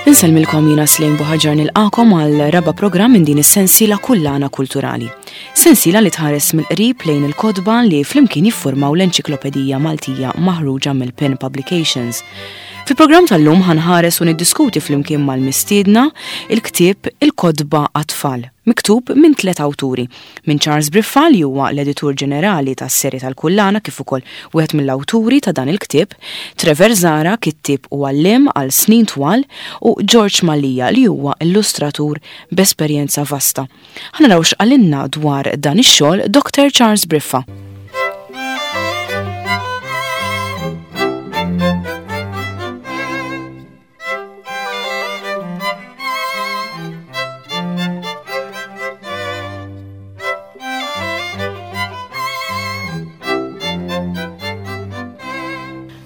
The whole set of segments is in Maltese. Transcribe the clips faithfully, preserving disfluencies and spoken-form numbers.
Insellmilkom jiena Slim Buħaġar nilqakom għal raba programm minn din is-sensiela Kullana Kulturali. Sensiela li tħares mill-qrib lejn il-kotba li flimkien jiffurmaw l-Enċiklopedija Maltija maħruġa mill-Pen Publications. Fil-programm tal-lum ħanħares u niddiskuti flimkien mal-mistiedna il-ktieb Il-Kotba għat-Tfal, miktub minn tliet awturi, minn Charles Briffa li huwa l-editur ġenerali tas-serje tal-Kullana kif ukoll wieħed mill-awturi ta' dan il-ktieb, Trevor Zara, kittieb u għalliem għal snin twal, u George Mallia li huwa illustratur b'esperjenza vasta. Ħa naraw x'qalilna dwar dan ix-xogħol Doctor Charles Briffa.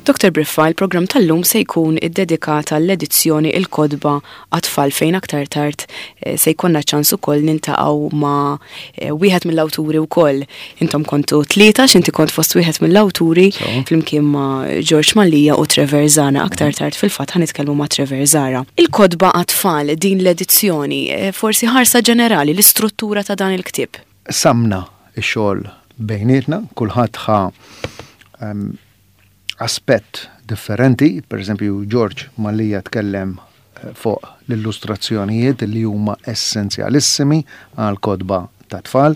Doctor Briffa, il-programm tal-lum se jkun iddedikat għall-edizzjoni Il-Kotba għat-Tfal fejn aktar tard, eh, se jkollna ċans ukoll niltaqgħu ma', eh, wieħed mill-awturi wkoll. Intom kontu tlieta, x'inti kont fost wieħed mill-awturi So. flimkien ma' George Mallia u Trevor Zara. Aktar tard fil-fatt ħa nitkellmu ma' Trevor Zara. Il-Kotba għat-Tfal, din l-edizzjoni, eh, forsi ħarsa ġenerali, l-istruttura ta' dan il-ktieb. Samna x-xogħol bejnietna, kulħadd ħa, ehm, aspett differenti, per eżempju George Mallia tkellem, eh, fuq l-illustrazzjonijiet li huma essenzjalissimi għal kotba ta' tfal.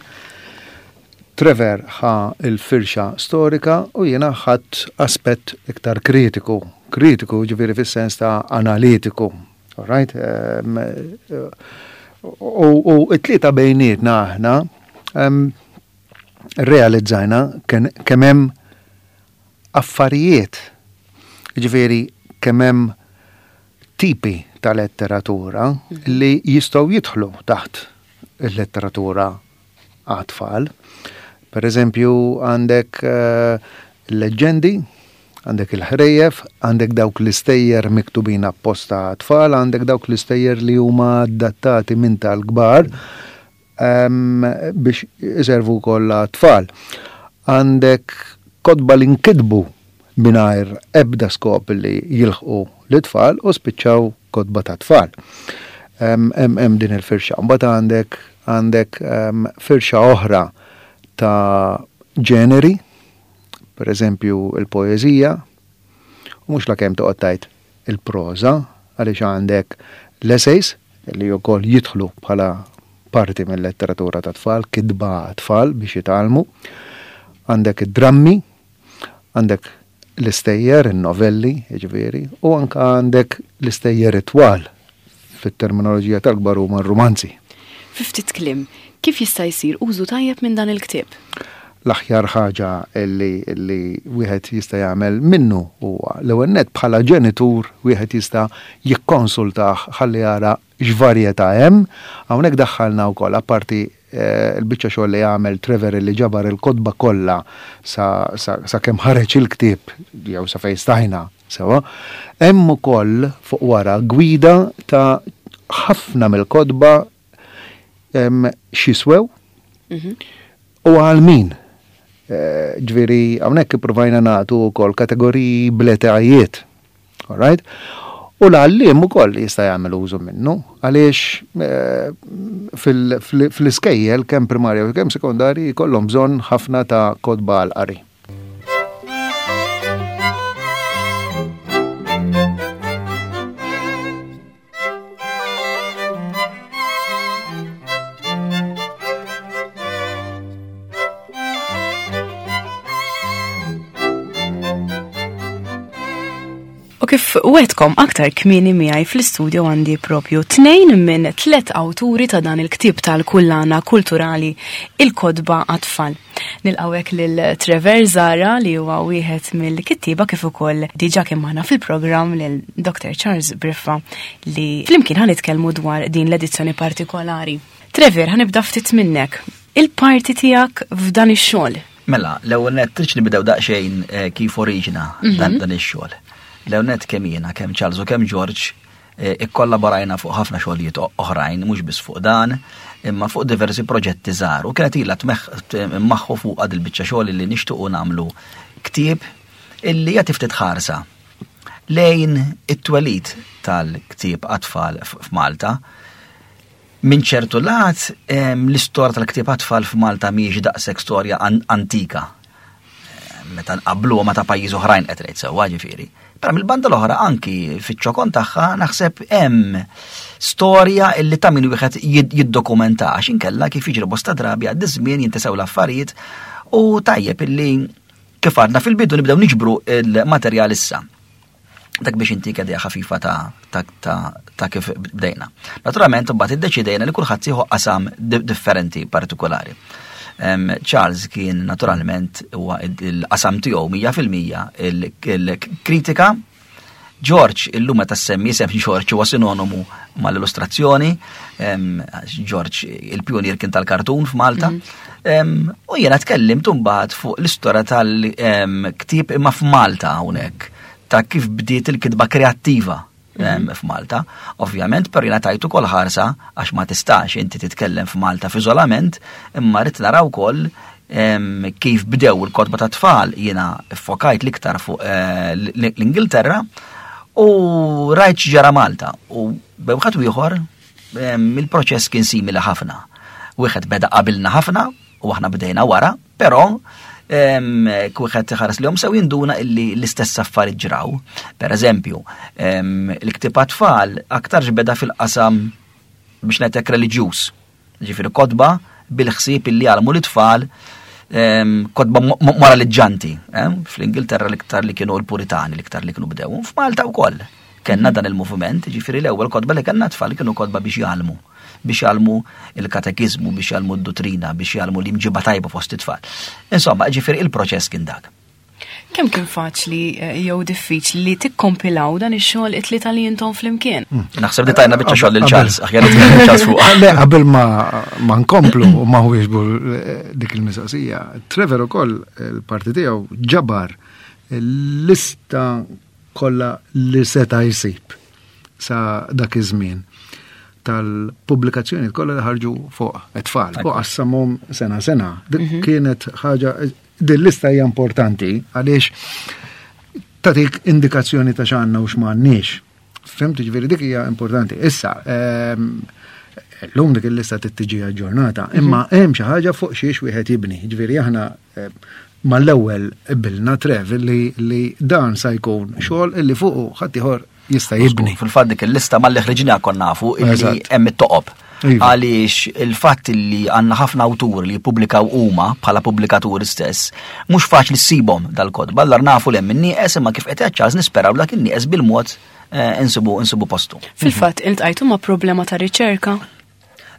Trevor ħa il-firxa storika u jiena ħadd aspett iktar kritiku, kritiku ġifieri fis-sens ta' analitiku. All right? Ehm, eh, u, u it-tlieta bejnietna aħna, ehm, realizzajna ken-, kemm hemm affarijiet, ġifieri kemm hemm tipi ta' letteratura li jistgħu jidħlu taħt il-letteratura għat-tfal. Per eżempju, għandek, eh, leġendi, għandek il-ħrejjef, għandek dawk l-istejjer miktubin apposta għat-tfal, għandek dawk l-istejjer li huma adattati minn tal-kbar, ehm, biex iservu wkoll għat-tfal. Għandek kotba li nkitbu mingħajr ebda skop li jilħqu l-tfal u spiċċaw kotba ta' tfal. Hemm, hemm, hemm din il-firxa. Mbagħad għandek, għandek, ehm, firxa oħra ta' ġeneri, per eżempju il-poeżija, u mhux lakemm toqgħod tgħid il-proża, għaliex għandek l-essays li wkoll jidħlu bħala parti mill-letteratura ta' tfal, kitba tfal biex jitgħallmu. Għandek id-drammi, għandek l-istejjer, il-novelli, jiġifieri, u anka għandek l-istejjer itwal fit-terminoloġija tal-kbar huma r-rumanzi. Fi ftit kliem, kif jista' jsir użu tajjeb minn dan il-ktieb? L-aħjar ħaġa li, li wieħed jista' jagħmel minnu huwa l-ewwel nett bħala ġenitur wieħed jista' jikkonsultah ħalli jara x'varjetà hemm. Hawnhekk daħħalna wkoll apparti, eh, il-biċċa xogħol li għamel Trevor li ġabar il-kotba kollha sa, sa, sa kemm ħareġ il-ktieb jew sa fejn stajna sewa. Hemm ukoll fuq wara gwida ta' ħafna mill-kotba, em, x'jiswew Mhm. u għal min. Eh, ġifieri hawnhekk ippruvajna nagħtu wkoll kategoriji bl-etajiet. All right? U l-għalliem ukoll jista' jagħmel użu minnu, għaliex, eh, fil-, fil-, fl-iskejjel kemm primarja u kemm sekondarji jkollhom bżonn ħafna ta' kotba għal qari. U kif wetkom aktar kmieni miegħi fl-istudio għandi propju tnejn minn tliet awturi ta' dan il-ktieb tal-kullana kulturali Il-Kotba għat-Tfal. Nilqawek lil Trevor Zara li huwa wieħed mill-kittieba kif ukoll diġà kien magħna fil-programm lil Doctor Charles Briffa li flimkien ħa nitkellmu dwar din l-edizzjoni partikolari. Trevor, ħa nibda ftit minnek. Il-parti tiegħek f'dan ix-xogħol. Mela, l-ewwel nett tridx nibdew daqsxejn, eh, kif oriġina Mhm. dan, dan ix-xogħol. L-ewwel nett kemm jiena, kemm Charles u kemm George, eh, ikkollaborajna fuq ħafna xogħlijiet o-, oħrajn, mhux biss fuq dan, imma fuq diversi proġetti żgħar. U kienet ilha tmeħ-, t-, maħħu fuq għad il-biċċa xogħol li nixtiequ nagħmlu ktieb illi jagħti ftit ħarsa Lejn it-twelid tal-ktieb għat-tfal f'Malta. Minn ċertu lat, l-istorja tal-ktieb għat-tfal f'Malta mhijiex daqshekk storja antika. Meta nqabblu ma ta' pajjiż oħrajn qed ngħid sewwa ġifieri. Però mill-banda l-oħra anki fiċ-ċokon tagħha naħseb hemm storja illi ta' min wieħed jiddokumenta għax inkella kif jiġri bosta drabi għad żmien jintesew l-affarijiet u tajjeb illi kif għadna fil-bidu nibdew niġbru il-materjal issa. Dak biex intik idea ħafifa ta', ta, ta, ta' kif bdejna. Naturalment, mbagħad iddeċidejna li kulħadd jieħu qasam differenti partikolari. Um, Charles kien naturalment huwa il-qasam tiegħu mija fil-mija il-kritika. George illum meta semmi isem George huwa sinonimu mal-illustrazzjoni. Um, George il-pionier kien tal-kartun f'Malta. Mm. Um, u jiena tkellimt mbagħad fuq l-istorja tal-ktieb imma f'Malta hawnhekk, ta' kif bdiet il-kitba kreattiva mm. f'Malta. Ovvjament, per jiena tajtu kol ħarsa, għax ma tistax inti titkellem f'Malta f'iżolament, imma rrid naraw ukoll kif bdew il-kotba ta' tfal, jiena fokajt l-iktar fuq eh, l-Ingilterra u rajt ġara Malta. U bejn ieħor il-proċess kien simili ħafna. Wieħed beda qabilna ħafna u aħna bdejna wara, però wieħed ħares li sew jinduna illi l-istess affarijiet ġraw. Per eżempju, il-ktieb tfal aktar beda fil-qasam biex ngħidlek reliġjuż. Ġifieri kotba bil-ħsieb illi jgħallmu l-tfal, kotba moraliġġanti. Fl-Ingilterra l-iktar li kienu l-Puritani l-iktar li kienu bdew. F'Malta wkoll kellna dan il-moviment, ġifieri l-ewwel kotba li kellna tfal kienu kotba biex jgħallmu biex jgħallmu il-katekizmu, biex jgħallmu d-dottrina, biex jgħallmu l-imġiba tajba fost it-tfal. Insomma, ġifieri il-proċess kien dak. Kemm kien faċli eh, jew diffiċli li tikkompilaw dan ix-xogħol it-tlieta li intom flimkien? Hmm. Naħseb li tajna biċċa xogħol lil Charles, aħjar Charles fuq. Le, qabel ma ma nkomplu u ma huwiex eh, dik il-mistoqsija, Trevor ukoll il-parti tiegħu ġabar l-lista kollha li seta' jsib sa dak iż-żmien tal-pubblikazzjoni kollha li ħarġu fuq it-tfal u qassamhom sena sena. Dik mhm. kienet ħaġa, din lista hija importanti għaliex tagħtik indikazzjoni ta' x'għandna u x'm'għandniex. Fhimt, ġifieri dik hija importanti. Issa, ehm, llum dik il-lista tiġi aġġornata, mhm. imma hemm xi ħaġa fuq xiex wieħed jibni. Ġifieri aħna ehm, mal-ewwel qbilna Trev li, li dan sa jkun xogħol illi fuqu ħadd ieħor jista' jibni. Fil-fatt dik il-lista malli ħriġna konna nafu illi hemm it-toqob. Iva. Għaliex il-fatt li għandna ħafna awturi li jippubblikaw huma bħala pubblikaturi stess, mhux faċli ssibhom dal-kotba, allura nafu li hemm in-nieqes imma kif qed Charles nisperaw dak in-nieqes bil-mod eh, insibu insibu postu. Fil-fatt iltqajtu ma' problema ta' riċerka?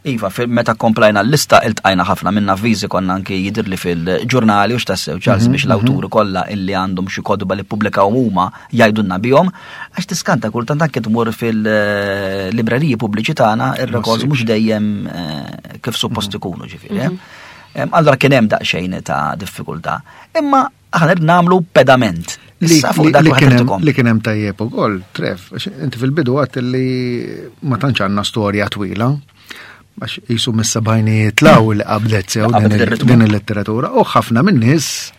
Iva, meta komplajna l-lista iltqajna ħafna minna avviżi konna anki jidirli fil-ġurnali u x'tassew Charles mhm, biex mhm. l-awturi kollha illi għandhom xi kotba li ppubblikaw huma jgħidulna bihom, għax tiskanta kultant anke tmur fil-libreriji pubbliċi tagħna ir-records mhux dejjem eh, kif suppost mhm. ikunu ġifieri. Eh. Allora kien hemm daqsxejn ta' diffikultà. Imma aħna nagħmlu pedament. Li kien hemm tajjeb ukoll, Trev, inti fil-bidu għedt li ma tantx għandna storja twila għax jisu mis-sebgħinijiet 'l hawn li qabdet sew din il-letteratura u ħafna minn nies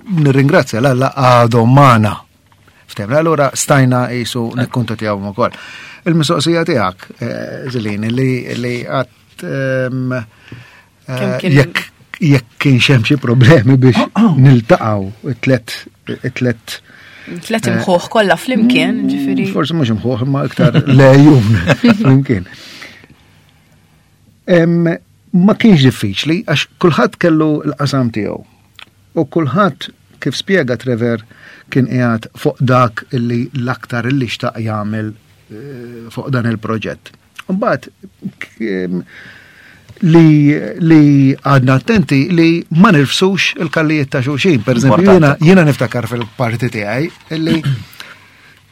nirringrazzja l għadhom magħna. Ftehmna, allura stajna jisu nikkuntattjaw ukoll. Il-mistoqsija tiegħek, eh, Zilin, li li għedt ehm, eh, jekk jekk kien hemm xi problemi biex niltaqgħu it-tlet it-tlet Tlet imħuħ kollha flimkien, mm, ġifieri. Forsi mhux imħuħ imma iktar lejun flimkien. Ma kienx diffiċli għax kulħadd kellu l-qasam tiegħu. U kulħadd kif spjega Trevor kien qiegħed fuq dak illi l-aktar illi xtaq jagħmel eh, fuq dan il-proġett. Mbagħad li li għadna attenti li ma nirfsux il-kallijiet ta' xulxin. Per eżempju, jiena jiena niftakar fil-parti tiegħi illi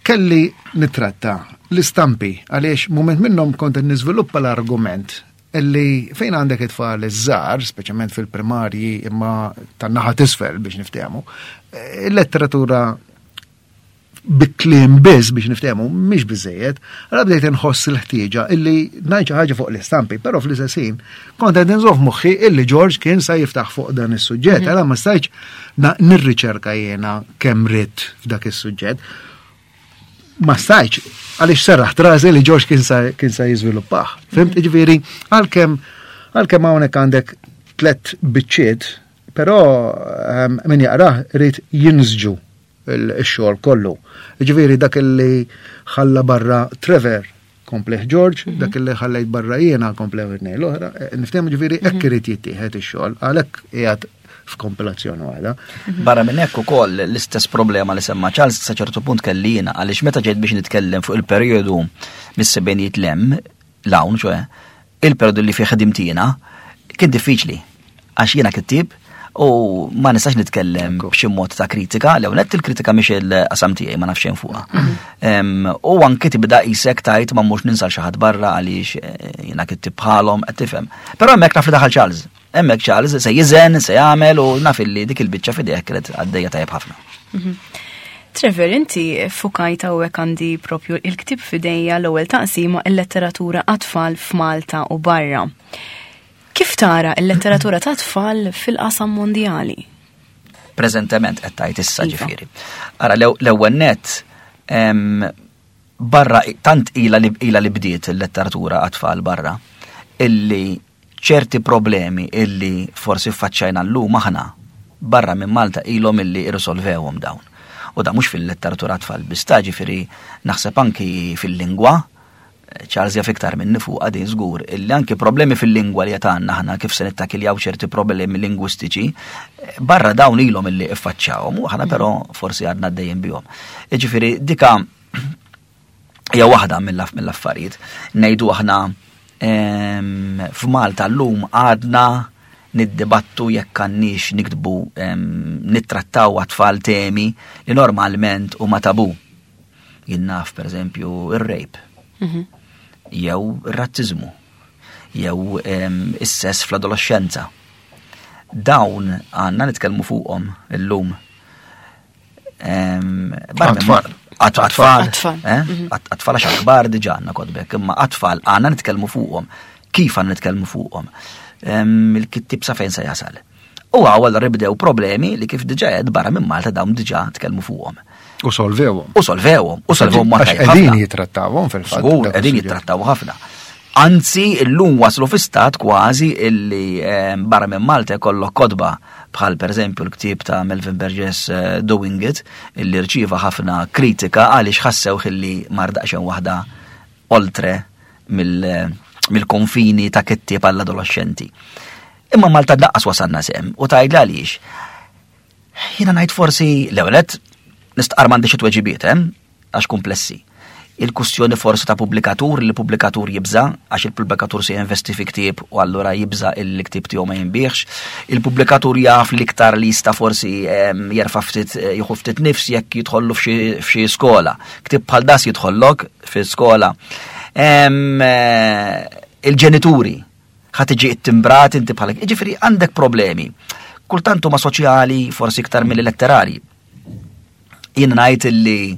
kelli nitratta l-istampi għaliex moment minnhom kont niżviluppa l-argument illi fejn għandek it-tfal iż-żgħar, speċjalment fil-primarji imma tan-naħa t'isfel biex niftehmu, il-letteratura bi kliem biss biex niftehmu mhix biżejjed, allura bdejt inħoss il-ħtieġa illi ngħid xi ħaġa fuq l-istampi, però fl-istess ħin kont qed inżomm f'moħħi illi George kien sa jiftaħ fuq dan is-suġġett, allura ma stajtx nirriċerka jiena kemm ridt f'dak is-suġġett. Ma stajtx, għaliex serraħt rasi li George kien sa kien sa jiżviluppah. Fhimt, ġifieri, għalkemm għalkemm hawnhekk għandek tlet biċċiet, però ehm, min jaqrah irid jinsġu il-xogħol kollu. Ġifieri dak li ħalla barra Trevor komplieh George, dak li ħallejt barra jiena komplieh it-tnejn l-oħra, eh, niftehmu ġifieri hekk irid jittieħed ix-xogħol, għalhekk qiegħed f'kompilazzjoni waħda. Barra minn hekk ukoll l-istess problema li semma Charles sa ċertu punt kelli jiena għaliex meta ġejt biex nitkellem fuq il-perjodu mis-sebgħinijiet 'l hemm 'l hawn, ċoè, il-perjodu li fih ħdimt jiena, kien diffiċli għax jiena kittib u ma nistax nitkellem b'xi mod ta' kritika, l nett il-kritika mhix il-qasam tiegħi, ma nafx xejn fuqha. Em, U anki tibda qisek tajt ma mhux ninsa xi ħadd barra għaliex eh, jiena kittib bħalhom qed tifhem. Però hemmhekk naf li daħal Charles. Hemmhekk Charles se jiżen, se jagħmel u naf illi dik il-biċċa f'idejh kienet għaddejja tajjeb ħafna. Trevor, inti fukajt hawnhekk għandi propju il-ktib f'idejja, l-ewwel taqsima, il-letteratura għat-tfal f'Malta u barra. Kif tara il-letteratura ta' tfal fil-qasam mondjali? Preżentement qed tajt issa Iva. Ġifieri. Ara, l-ewwel net em, barra tant ila li ila li bdiet il-letteratura għat-tfal barra illi ċerti problemi illi forsi faċċajna llum aħna barra minn Malta ilhom illi irrisolvewhom dawn. U da mhux fil-letteratura tfal biss ta', ġifieri naħseb anki fil-lingwa, Charles jaf iktar minni fuq għadin żgur, illi anki problemi fil-lingwa li għandna aħna, kif se nittakiljaw ċerti problemi lingwistiċi, barra dawn ilhom illi iffaċċawhom u aħna però forsi għadna għaddejjin bihom. Ġifieri dika hija waħda mill-affarijiet. Ngħidu aħna em, f'Malta llum għadna niddibattu jekk għandniex niktbu em, nittrattaw għat-tfal temi li normalment huma tabu. Jien naf, per eżempju, ir-rape, jew ir-razzizmu, jew em, is-sess fl-adolescenza. Dawn għandna nitkellmu fuqhom illum. Em, barra minn- Għat-tfal. Għat- Għat-tfal. Għat-tfal. eh? Għat- Għat-tfal għax kbar diġà għandna kotbek, imma għat-tfal għandna nitkellmu fuqhom. Kif għandna nitkellmu fuqhom? Em, Il-kittib sa fejn se jasal? U hawn allura bdew problemi li kif diġà qed barra minn Malta dawn diġà tkellmu fuqhom. U solvewhom. U solvewhom, u solvewhom mod Għax tajjeb qegħdin ħafna. jitrattawhom fil-fatt. Żgur, dak qegħdin is-suġġett. jittrattaw ħafna. Anzi, illum waslu fi stat kważi illi eh, barra minn Malta jkollok kotba bħal per eżempju l-ktieb ta' Melvin Burgess eh, Doing It, illi rċieva ħafna kritika għaliex ħassew illi mar daqsxejn waħda oltre mill- mill-konfini ta' kittieb għall-adolescenti. Imma Malta daqqas wasalna s'hemm u tgħid għaliex. Jiena ngħid forsi l-ewwel nistqar m'għandix it-tweġibiet, eh? Għax komplessi. Il-kustjoni forsi ta' pubblikatur, li pubblikatur jibża, għax il-pubblikatur se jinvesti fi ktieb u allura jibża il-ktieb tiegħu ma jinbiegħx. Il-pubblikatur jaf li iktar li jista' forsi em, jerfa' ftit, eh, jieħu ftit nifs jekk jidħollu f'xi f'xi skola. Ktieb bħal das jidħollok fi skola. Em, eh, Il-ġenituri ħa tiġi ittimbrat inti bħalek. Ġifieri għandek problemi. Kultant huma soċjali, forsi iktar mill-letterari. Jien ngħid illi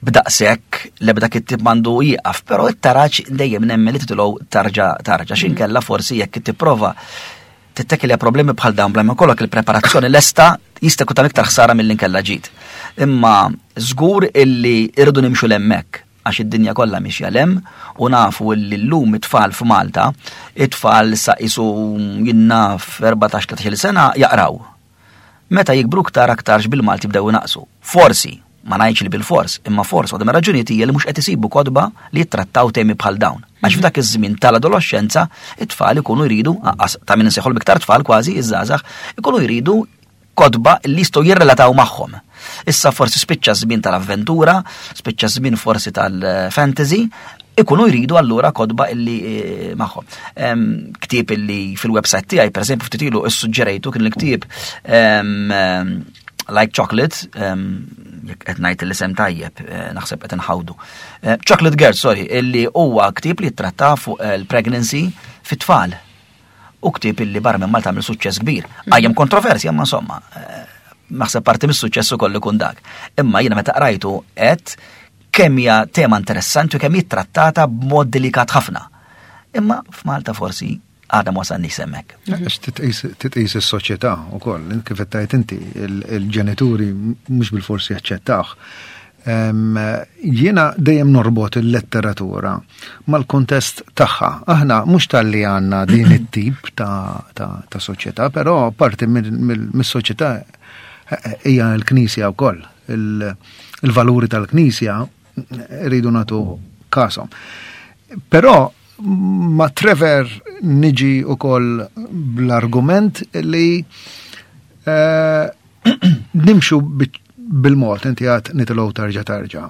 b'daqshekk l-ebda kittib m'għandu jieqaf, però it-taraġ dejjem nemmen li titilgħu tarġa tarġa x'inkella forsi jekk tipprova tittekilja problemi bħal dawn bla ma jkollok il-preparazzjoni lesta jista' jkun ta' iktar ħsara milli nkella ġid. Imma żgur illi irridu nimxu 'l hemmhekk għax id-dinja kollha mixja 'l hemm u nafu illi llum it-tfal f'Malta, it-tfal sa qisu jien naf erbatax tlettax-il sena jaqraw. Meta jikbru ktar aktarx bil-Malti bdew naqsu. Forsi, ma ngħidx li bil-fors, imma forsi waħda mir-raġunijiet hija li mhux qed isibu kotba li jittrattaw temi bħal dawn. Għax f'dak iż-żmien tal-adolescenza it-tfal ikunu jridu, anqas ta' min insejħu iktar tfal kważi, iż-żgħażagħ, ikunu jridu kotba li jistgħu jirrelataw magħhom. Issa forsi spiċċa żmien tal-avventura, spiċċa żmien forsi tal-fantasy, ikunu jridu allura kotba illi eh, magħhom. Em, Ktieb illi fil-website tiegħi, pereżempju, ftit ilu issuġġerejtu kien il-ktieb em, em, Like Chocolate, em, jekk qed ngħid l-isem tajjeb, eh, naħseb qed inħawdu. Eh, Chocolate Girl, sorry, illi huwa ktieb li jittratta fuq eh, il-pregnancy fit-tfal. U ktieb illi barra minn Malta għamel suċċess kbir. Qajjem kontroversja, ma insomma, eh, naħseb parti mis-suċċess ukoll ikun dak. Imma jiena meta qrajtu qed kemm hija tema interessanti u kemm jittrattata b'mod delikat ħafna. Imma f'Malta forsi għadha ma wasalniex s'hemmhekk. Għax titqis titqis is-soċjetà wkoll, kif qed tgħid inti, il- il-ġenituri mhux bil-forsi jaċċettawh. Jiena dejjem norbot il-letteratura mal-kontest tagħha. Aħna mhux talli għandna din it-tip ta', ta, ta' soċjetà, però parti mis-soċjetà hija l-Knisja wkoll. Il-valuri tal-Knisja rridu nagħtu kashom. Però ma' Trevor niġi ukoll bl-argument li eh, nimxu bil-mod, inti għat nitilgħu tarġa tarġa.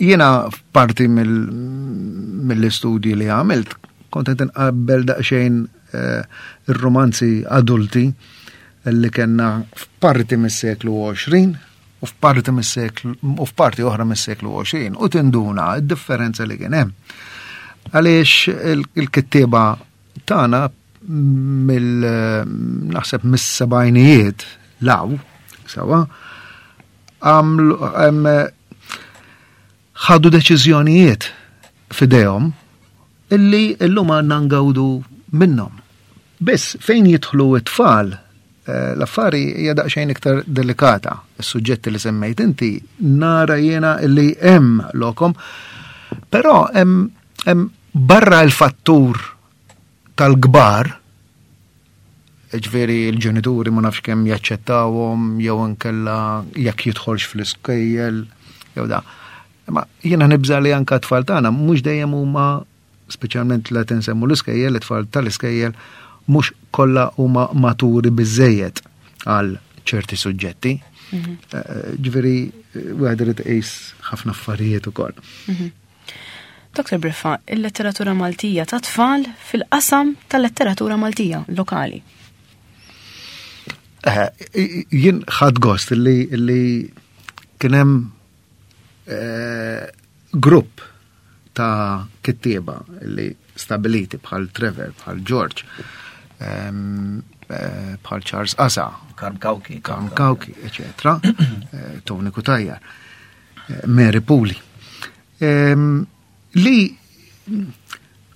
Jiena parti mill-istudji li għamilt, kont qed inqabbel daqsxejn eh, ir-romanzi adulti li kellna f'parti mis-seklu għoxrin u f'parti mis-seklu u f'parti oħra mis-seklu għoxrin u tinduna d-differenza li kien hemm. Għaliex il-kittieba tagħna mill naħseb mis-sebgħinijiet law sawa għamlu ħadu deċiżjonijiet f'idejhom illi illum għandna ngawdu minnhom. Biss fejn jidħlu it-tfal, l-affari hija daqsxejn iktar delikata. Is-suġġetti li semmejt inti nara jiena illi hemm lokom, però hemm barra l-fattur tal-kbar, ġifieri l-ġenituri ma nafx kemm jaċċettawhom jew inkella jekk jidħolx fl-iskejjel jew da. Ma jiena nibża li anka t-tfal tagħna mhux dejjem huma, speċjalment la tinsemmu l-iskejjel, it-tfal tal-iskejjel mhux kollha huma maturi biżejjed għal ċerti suġġetti. Ġifieri wieħed irid iqis ħafna affarijiet ukoll. Doktor Briffa, il-letteratura Maltija ta' tfal fil-qasam tal-letteratura Maltija lokali. Jien ħadt gost li, li kien hemm grupp ta' kittieba li stabiliti bħal Trevor, bħal George, bħal Charles Asa, Karm Cauchi, Karm Cauchi, eccetera, Tony Cutajar, Mary Puli, li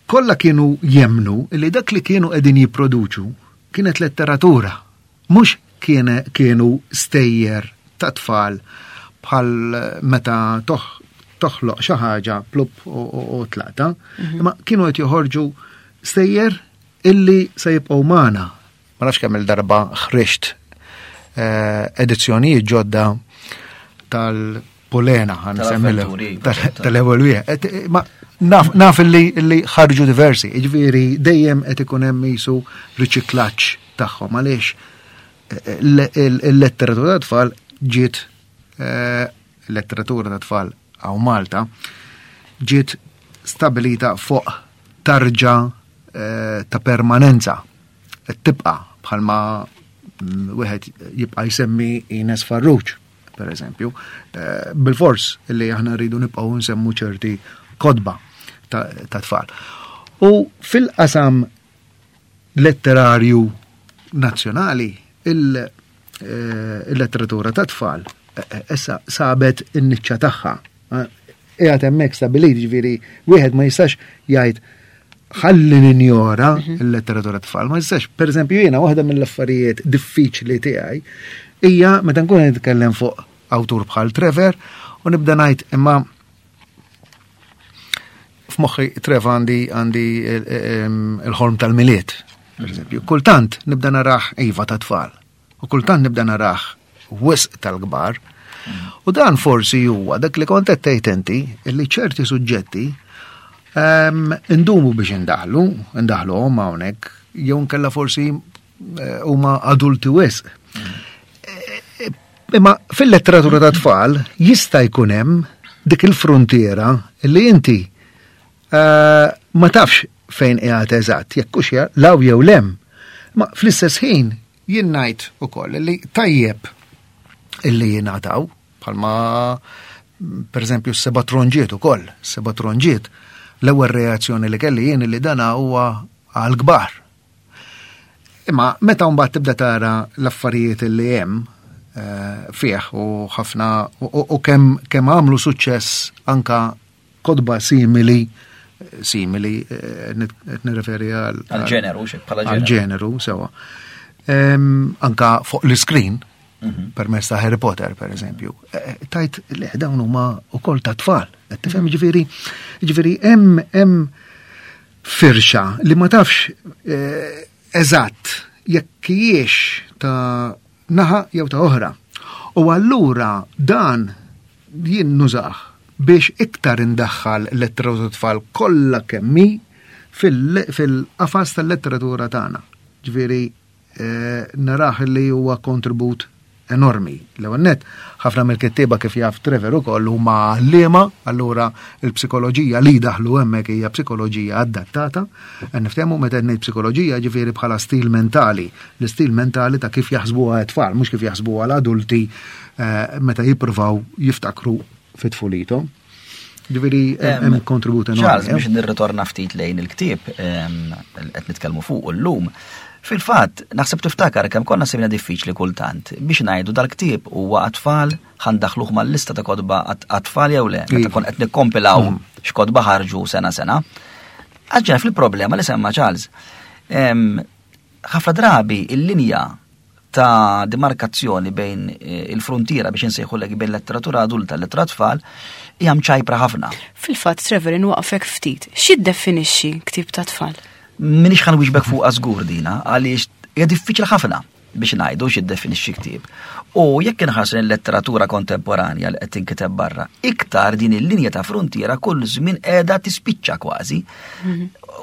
kollha kienu jemnu li dak li kienu qegħdin jipproduċu kienet letteratura, mhux kienu stejjer ta' tfal bħal meta toħloq xi ħaġa plup u tlaqta, imma kienu qed joħorġu stejjer illi se jibqgħu magħna. Ma nafx kemm il-darba ħriġt edizzjonijiet ġodda tal-Pulena, ħa nsemmilha, tal-ewwel wieħed. Ma naf illi ħarġu diversi, jiġifieri dejjem qed ikun hemm qisu riċiklaġġ tagħhom għaliex il-letteratura ta' tfal ġiet, il-letteratura ta' tfal hawn Malta ġiet stabilita fuq tarġa ta' permanenza. Tibqa' bħalma wieħed jibqa' jsemmi Ines Farrugia, per eżempju, bil-fors li aħna rridu nibqgħu nsemmu ċerti kotba ta' tfal. U fil-qasam letterarju nazzjonali, il-letteratura ta' tfal issa sabet in-niċċa tagħha. Qiegħed hemmhekk stabilit, ġifieri wieħed ma jistax jgħid ħalli ninjora l-letteratura tfal, ma jistax. Per eżempju, jiena waħda mill-affarijiet diffiċli tiegħi hija meta nkun qed nitkellem fuq awtur bħal Trevor u nibda ngħid imma f'moħħi Trevor għandi għandi il-ħolm tal-Milied, per eżempju. Kultant nibda narah iva ta' tfal u kultant nibda narah wisq tal-kbar. U dan forsi huwa dak li kont qed tgħid inti illi ċerti suġġetti indumu biex indaħlu, indaħluhom hawnhekk, jew nkella forsi huma adulti wisq. Imma fil-letteratura ta' tfal jista' jkun hemm dik il-frontiera li inti ma tafx fejn qiegħed eżatt, jekk hux law jew lem. Ma fl-istess ħin jien ngħid ukoll li tajjeb illi jingħataw bħalma per eżempju s-seba' tronġiet ukoll, s-seba' tronġiet, l-ewwel reazzjoni li kelli jien li dana huwa għal kbar. Imma meta mbagħad tibda tara l-affarijiet li hemm fih u ħafna u kemm kemm għamlu suċċess anka kotba simili, simili qed nirreferi għal għal ġeneru, xek bħala għal ġeneru sewa. Anka fuq l-iskrin, permezz ta' Harry Potter, per eżempju. Eh, Tajt, le, dawn huma wkoll ta' tfal. Qed tifhem ġifieri, ġifieri hemm hemm firxa li ma tafx eh, eżatt jekk hijiex ta' naħa jew ta' oħra. U allura dan jien nużah biex iktar indaħħal letteratura tfal kollha kemm hi fil- fil-qafas tal-letteratura tagħna. Ġifieri eh, narah li huwa kontribut enormi. L-ewwel nett, ħafna mill-kittieba kif jaf Trevor ukoll huma għalliema, allura il-psikoloġija li daħlu hemmhekk hija psikoloġija adattata. Qed niftehmu meta ngħid psikoloġija ġifieri bħala stil mentali, l-istil mentali ta' kif jaħsbuha t-tfal, mhux kif jaħsbuha l-adulti eh, meta jippruvaw jiftakru fit-tfulithom. Ġifieri hemm kontribut enormi. Charles, eh? biex nirritorna ftit lejn il-ktieb em, qed nitkellmu fuq illum. Fil-fatt, naħseb tiftakar kemm konna sibna diffiċli kultant biex ngħidu dal-ktieb huwa għat-tfal ħa ndaħħluh mal-lista ta' kotba għat-tfal jew le, meta Iva. kon qed nikkompilaw x'kotba ħarġu sena sena. Għaġġa fil-problema li semma Charles. Em, ħafna drabi il-linja ta' demarkazzjoni bejn eh, il-frontiera biex insejħu bejn letteratura adulta u letteratura tfal hija mċajpra ħafna. Fil-fatt, Trevor, inwaqfek ftit. X'jiddefinixxi ktieb ta' tfal? Minix ħa nwieġbek fuq żgur dina, għaliex hija diffiċli ħafna biex ngħidu x'jiddefinixxi ktieb. U jekk inħarsu l-letteratura kontemporanja li qed tinkiteb barra, iktar din il-linja ta' frontiera kull żmien qiegħda tispiċċa kważi.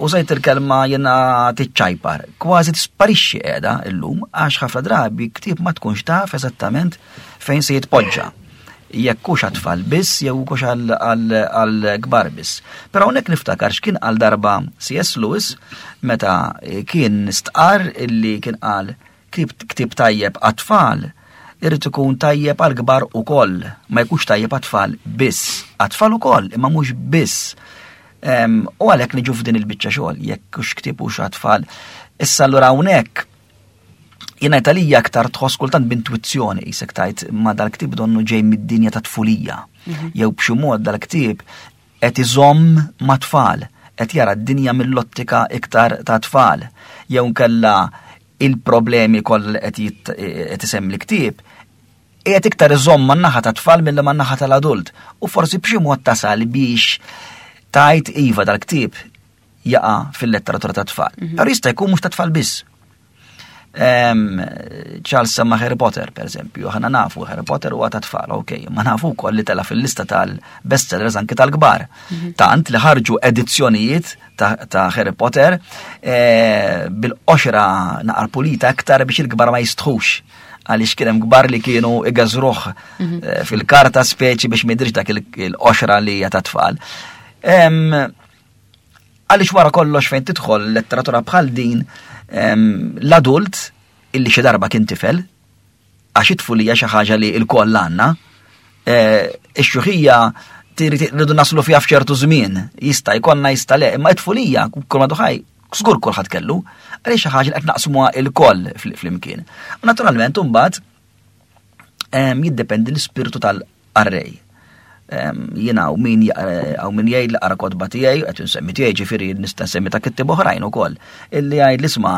Użajt il-kelma jiena tiċċajpar, kważi tisparixxi qiegħda illum għax ħafna drabi ktieb ma tkunx taf eżattament fejn se jitpoġġa. Jekk hux għat-tfal biss jew hux għal kbar biss. Però hawnhekk niftakar x'kien għal darba C S. Lewis meta kien stqar illi kien qal ktieb ktieb tajjeb għat-tfal irid ikun tajjeb għal kbar ukoll, ma jkunx tajjeb għat-tfal biss. Għat-tfal ukoll, imma mhux biss. Em, U għalhekk niġu f'din il-biċċa xogħol, jekk hux ktieb hux għat-tfal. Issa allura hawnhekk jiena Italija aktar tħoss kultant b'intuizzjoni jisek tajt ma dal-ktieb donnu ġej mid-dinja ta' tfulija. Jew b'xi mod dal-ktieb qed iżomm ma' tfal, qed jara d-dinja mill-ottika iktar ta' tfal. Jew nkella il-problemi kollha li qed jit- qed isemmi l-ktieb qiegħed iktar iżomm man-naħa ta' tfal milli man-naħa tal-adult. U forsi b'xi mod tasal biex tajt iva dal-ktieb jaqa' fil-letteratura ta' tfal. Però jista' jkun mhux ta' tfal biss. Em, Charles semma Harry Potter, per eżempju, aħna nafu Harry Potter huwa ta' tfal, ok, ma nafu wkoll li tela fil-lista tal-bestsellers anki tal-kbar. Tant li ħarġu edizzjonijiet ta', ta' Harry Potter eh, bil-qoxra naqra pulita aktar biex il-kbar ma jistħux għaliex kien hemm kbar li kienu igażruh eh, fil-karta speċi biex ma jidhirx dak il- il-qoxra li hija ta' tfal. Em, Għaliex wara kollox fejn tidħol letteratura bħal din em, l-adult illi xi darba kien tifel, għax it-tfulija xi ħaġa li l-koll għandna, eh, ix-xjuħija rridu naslu fiha f'ċertu żmien, jista' jkollna jista' le, imma it-tfulija kull ma duħaj, żgur kulħadd kellu, għaliex xi ħaġa li qed naqsmuha il-koll fl- flimkien. U naturalment imbagħad em, jiddependi l-ispirtu tal-qarrej. Em, Jiena u min għaw min jgħid li qara kotba tiegħi, qed insemmi tiegħi ġifieri nista' nsemmi ta' kittieb oħrajn ukoll. Illi jgħid l-isma'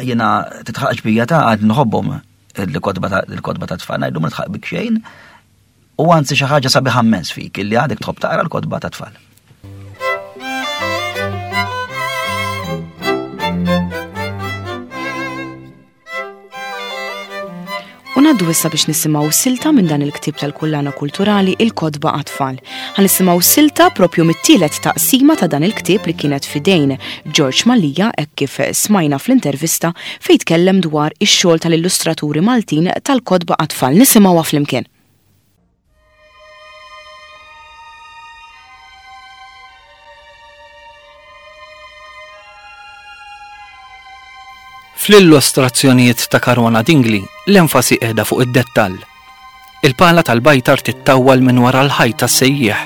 jiena titħaqx bija ta' għad nħobbhom il-kotba ta' il-kotba ta' tfal, ngħidu ma nitħaq bik xejn. U anzi xi ħaġa sabiħa immens fik illi għadek tħobb taqra l-kotba ta' tfal. U ngħaddu issa biex nisimgħu silta minn dan il-ktieb tal-kullana kulturali Il-Kotba Għat-Tfal. Ħa nisimgħu silta propju mit-tielet taqsima ta' dan il-ktieb li kienet fidejn George Mallia hekk kif smajna fl-intervista fejn tkellem dwar ix-xogħol tal-illustraturi Maltin tal-Kotba Għat-Tfal. Nisimgħuha flimkien. Fl-illustrazzjonijiet ta' Caruana Dingli, l-enfasi qiegħda fuq id-dettall. Il-pala tal-bajtar tittawwal minn wara l-ħajt tas-sejjieħ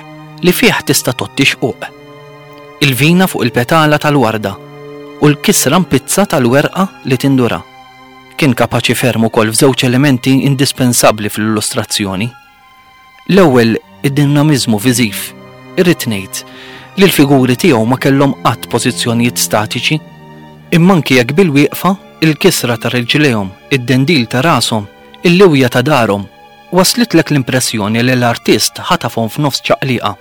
li fih tista' totti xquq. Il-vina fuq il-petala tal-warda u l-kisra mpizza tal-werqa li tindura. Kien kapaċi ferm ukoll f'żewġ elementi indispensabbli fl-illustrazzjoni. L-ewwel id-dinamiżmu viżiv. Irrid ngħid li l-figuri tiegħu ma kellhom qatt pożizzjonijiet statiċi, imma anki jekk bil-wieqfa il-kisra ta' riġlejhom, id-dendil ta' rashom Il-liwja ta' darhom waslitlek l-impressjoni li l-artist ħatafhom f'nofs ċaqliqa.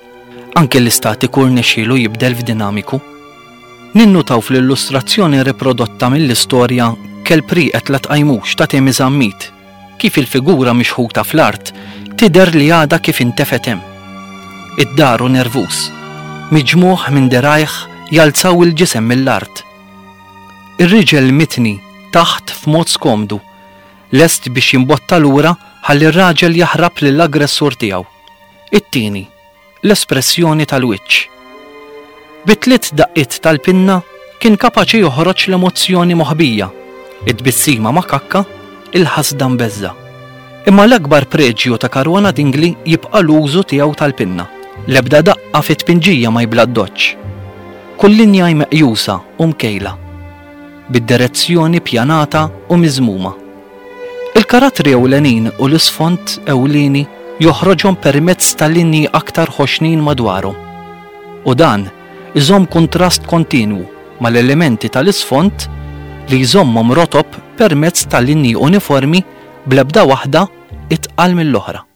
Anke l-istatiku rnexxielu jibdel f'dinamiku. Ninnutaw fl-illustrazzjoni riprodotta mill-istorja Kelb rieqed la tqajmux ta' Temi Zammit, kif il-figura mixħuta fl-art tidher li għadha kif intefgħet hemm. Id-daru nervuż, miġmugħ minn dirgħajh jalzaw il-ġisem mill-art. Ir-riġel mitni taħt f'mod skomdu, lest biex jimbotta lura ħalli r-raġel jaħrab lill-aggressur tiegħu. It-tieni, l-espressjoni tal-wiċċ. Bi tliet daqqiet tal-pinna kien kapaċi joħroġ l-emozzjoni moħbija, it-tbissima makakka, il-ħasda mbeżża'. Imma l-akbar preġju ta' Caruana Dingli jibqa' l-użu tiegħu tal-pinna. L-ebda daqqa fit-tpinġija ma jibla d-doċċ. Kull linja hi meqjusa u mkejla, bid-direzzjoni pjanata u miżmuma. Il-karattri ewlenin u l-isfond ewlieni joħroġhom permezz ta' linji aktar ħoxnin madwarhom. U dan iżomm kuntrast kontinwu mal-elementi tal-isfond li jżommhom rotob permezz ta' linji uniformi bl-ebda waħda itqal mill-oħra.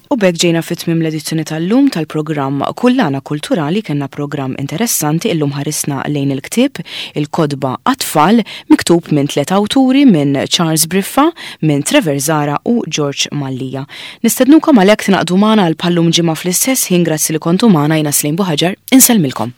U b'hekk ġejna fi tmiem l-edizzjoni tal-lum tal-programm Kullana Kulturali. Kellna programm interessanti illum, ħarisna lejn il-ktieb Il-Kotba għat-Tfal, miktub minn tliet awturi, minn Charles Briffa, minn Trevor Zara u George Mallia. Nistednukom għalhekk tingħaqdu magħna għal bħal-lum ġimgħa fl-istess ħin. Grazzi li kontu magħna. Jiena Slim Buħaġar, insellmilkom.